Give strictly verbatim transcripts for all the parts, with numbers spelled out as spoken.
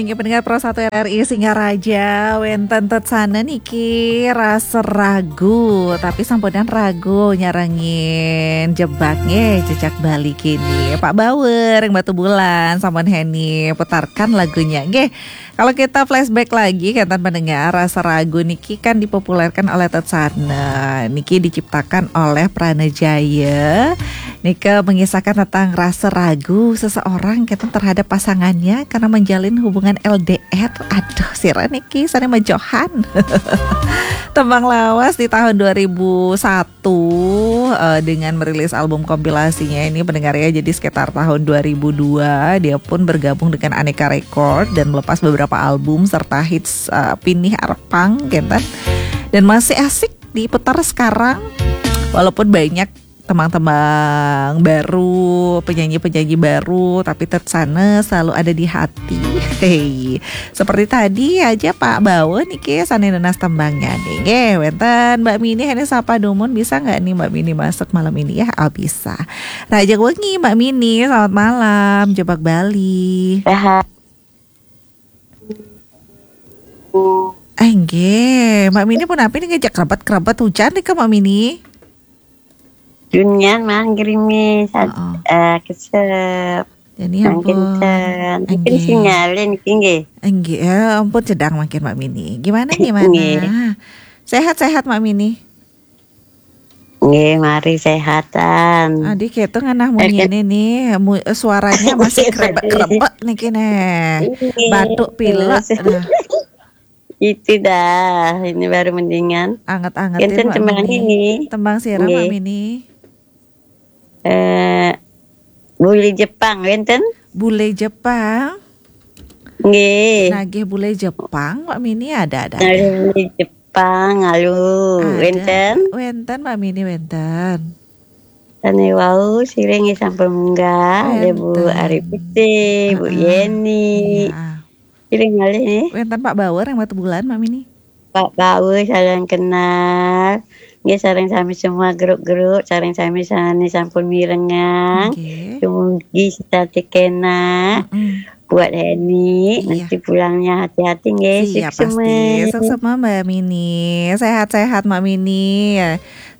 Inggih pendengar Pro satu R R I Singaraja, wénten tetsana niki rasa ragu, tapi sampunan ragu nyarengin Jebak nggih, Jejak Bali kini. Pak Bauer ring Batubulan, sampun Heni putarkan lagunya nggih. Kalau kita flashback lagi, kenten pendengar, rasa ragu niki kan dipopulerkan oleh tetsana. Niki diciptakan oleh Prana Jaya. Nika mengisahkan tentang rasa ragu seseorang kenten terhadap pasangannya karena menjalin hubungan L D R. Aduh, sira niki sané majohan. Tembang lawas di tahun dua ribu satu, eh, dengan merilis album kompilasinya ini, pendengar ya. Jadi sekitar tahun dua ribu dua dia pun bergabung dengan Aneka Record dan melepas beberapa album serta hits, eh, pinih arepang kenten. Dan masih asik diputar sekarang. Walaupun banyak tembang-tembang baru, penyanyi-penyanyi baru, tapi tetsana selalu ada di hati. Hei, seperti tadi aja Pak Bawa niki sané nunas tembangnya nih. Nggih, wénten Mbak Mini, Heni sapa dumun, bisa nggak nih Mbak Mini masuk malam ini ya? Oh, bisa. Rahajeng wengi Mbak Mini, selamat malam, Jebak Bali. Sehat. Eh, nggih, Mbak Mini punapi niki, jek krebet-krebet hujan nika Mbak Mini? Dunyan mang gerimis, Heeh. eh, kesep, Jadi mang ampun. kencen. Mungkin Nggih. sinyalnya niki nggih. Nggih, eh, ampun cedang mangkin Mbak Mini. Gimana, gimana? Nggih. Sehat-sehat Mbak Mini? Nggih, mari sehatan. Adi ketu ngenah munyi ini nih, mu- eh, suaranya masih Nggih, kerebek-kerebek niki nih. Nggih. Batuk pilek. Nah, Itu dah, ini baru mendingan. anget-angetin Enten Mbak tembang Mini. ini. Tembang sira Mbak Nggih. Mini. Eh, Bule Jepang, wénten? Bule Jepang. Nggih. Nagih bule Jepang Mbak Mini ada-ada. Ngalih Bule Jepang, alu, Ada. Wénten? Wénten Mbak Mini, wénten. Sané wau sira nggih sampun munggah, ada Bu Wénten. Ari Putih, Bu Heeh. Yeni. Iya. Sira ngalih nggih. Wénten Pak Bauer ring Batubulan Mbak Mini. Pak Bauer, salam kenal. Nggih, sareng sami semua grup-grup, sareng sami sané sampun mirengang. Nggih. Dumugi sesasi kénak. Mm-mm. Buat Heni, Iya. nanti pulangnya hati-hati nggih. Siap Suksema. Pasti. Suksema Mbak Mini. Sehat-sehat Mbak Mini.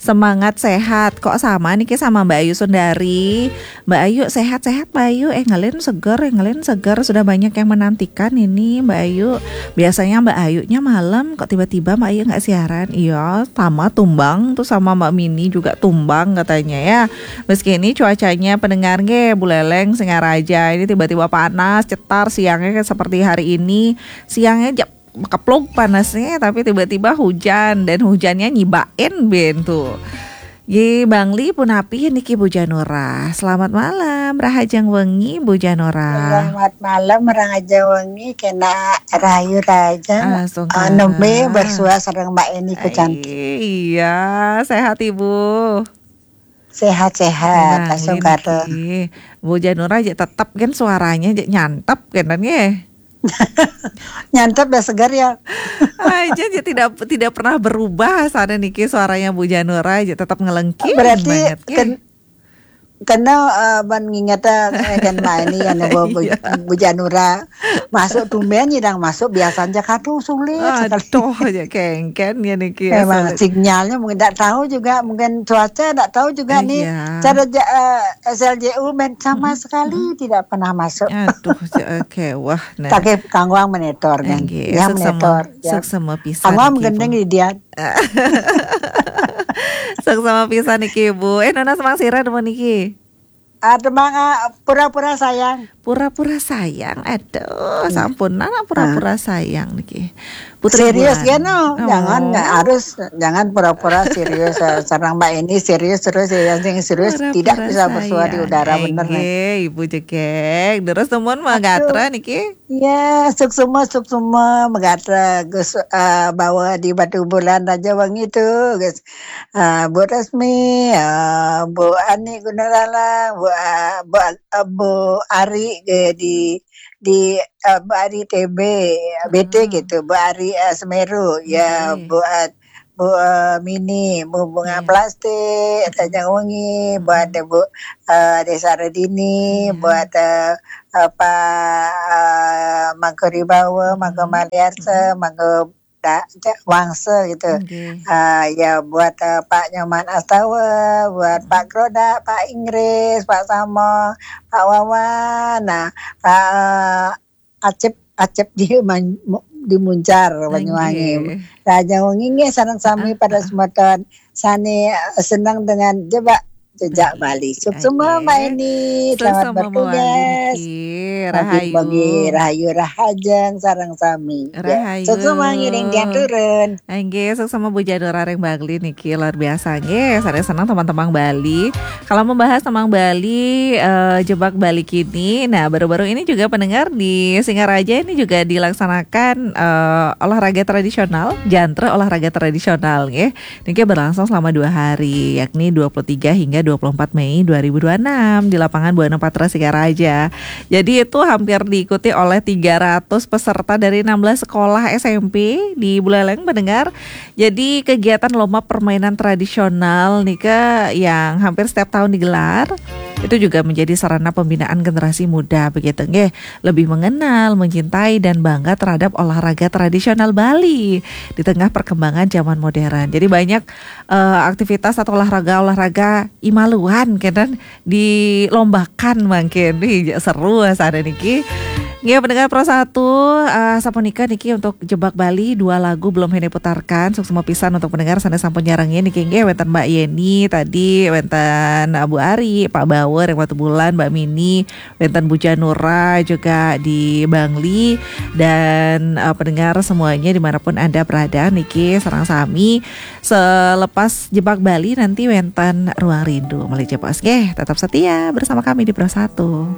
Semangat sehat. Kok sama niki sama Mbak Ayu Sundari? Mbak Ayu sehat-sehat Mbak Ayu. Eh, ngelin seger, eh, ngelin seger. Sudah banyak yang menantikan ini Mbak Ayu. Biasanya Mbak Ayunya malam, kok tiba-tiba Mbak Ayu nggak siaran? Iya, sama tumbang tuh sama Mbak Mini juga tumbang katanya ya. Meski ini cuacanya pendengar nggih, buleleng Singaraja ini tiba-tiba panas, cetar siangnya kayak seperti hari ini. Siangnya jep kepluk panasnya, tapi tiba-tiba hujan dan hujannya nyibain ben tuh. Nggih, Bangli punapi niki Bu Janura. Selamat malam, rahajeng wengi Bu Janura. Selamat malam, rahajeng wengi, kena rahayu rahajeng. Ah, sungkan. Ah, nembe bersuah sareng Mbak Eni ku cantik. Iya, sehat Ibu. Sehat-sehat, Bangli asal kata. Niki. Bu Janura aja tetep kan suaranya aja nyantep kan nggih. Nyantep ya segar ya. Aja aja tidak tidak pernah berubah sana niki suaranya Bu Janura aja tetap ngelengking Berarti banget nggih. ken- kena eh, ban nginget eh, kan Mbak Eni yang Bu, Bu, Iya. Bu Janura masuk tumben nyidang masuk biasanya kadu sulit sekali. Aduh aja kengken ya niki ya. Memang Sulit. sinyalnya mungkin tidak tahu juga, mungkin cuaca tidak tahu juga nih. Iya. Cara ja- eh, S L J U main sama Mm-mm, sekali tidak pernah masuk. Aduh, ja- oke, wah, nah. Tapi kangguang monitor kan. Nggih, Ya suksema, monitor. Ya. Suksema pisan Kangguang niki, gendeng Bu. Di dia. Suksema pisan niki, Bu. Eh, nunas mang sira niki. Ada mang ah, pura-pura sayang. Pura-pura sayang. Aduh, Iya. Sampunan Ah. Pura-pura sayang niki. Putri Serius Bulan. Kan no? Oh. Jangan nggak harus jangan pura-pura serius eh, sareng Mbak Eni serius terus ya yang sing serius tidak Pura-pura bisa bersuara di sayang. Udara bener nih. Nggih, Ibu Jegeg. Terus temuan Mbak Aduh. Gatra niki. Ya, suksema suksema Mbak Gatra Gus eh, bawa di Batubulan aja wangi tuh Gus. Eh, Bu Resmi, eh, Bu Ani Gunarala, Bu eh, Bu, eh, Bu Ari eh, di di eh, Bu Ari T B, B T Heeh. Gitu, Bu Ari eh, Semeru, ya Nggih. Bu eh, Bu eh, Mini, Bu Bunga Iya. Plastik, Tanjung Wengi, buat Heeh. Bu eh, Desa Redini, Iya. Buat eh, eh, Pak eh, Mang Koribawa, mangga Maliarsa, mangga da, ja, Wangsa gitu. Nggih. Ah, ya buat uh, Pak Nyoman Astawa, buat Pak Groda, Pak Inggris, Pak Samo, Pak Wawan, nah Pak Acep Acep di Man, di Muncar Banyuwangi. Nggih. Raja Wengi nggih sareng sami pada semeton sane uh, senang dengan jebak jejak Bali. Suksema Nggih. Mbak Eni, selamat Suksema Mawali bertugas. niki. Rahayu. Rahayu. Rahayu Rahajeng sareng sami. Ya. Rahayu. Suksema ngiring tiang turun. Nggih, suksema Bu Janura ring Bangli niki luar biasa nggih. Saya senang teman-teman Bali. Kalau membahas tentang Bali, eh, jebak Bali kini. Nah, baru-baru ini juga pendengar di Singaraja ini juga dilaksanakan eh, olahraga tradisional, jantra olahraga tradisional nggih. Niki berlangsung selama dua hari, yakni dua puluh tiga hingga dua puluh empat Mei dua ribu dua puluh enam di lapangan Buana Patra Singaraja. Jadi itu hampir diikuti oleh tiga ratus peserta dari enam belas sekolah S M P di Buleleng, pendengar. Jadi kegiatan lomba permainan tradisional nika yang hampir setiap tahun digelar itu juga menjadi sarana pembinaan generasi muda begitu nggih, lebih mengenal, mencintai dan bangga terhadap olahraga tradisional Bali di tengah perkembangan zaman modern. Jadi banyak eh, aktivitas atau olahraga-olahraga imaluan kan dilombakan mangkin. Wih, seru sana niki. Nggih, pendengar Pro satu, eh, sapunika niki untuk Jebak Bali dua lagu belum hene putarkan. Suksema pisan untuk pendengar sana sampun nyarengin niki nggih, wenten Mbak Yeni tadi, wenten Abu Ari, Pak Bawer yang Batu Bulan, Mbak Mini, wenten Bu Janura juga di Bangli, dan eh, pendengar semuanya dimanapun Anda berada niki sareng sami selepas Jebak Bali nanti wenten Ruang Rindu. Malih jebos nggih, tetap setia bersama kami di Pro satu.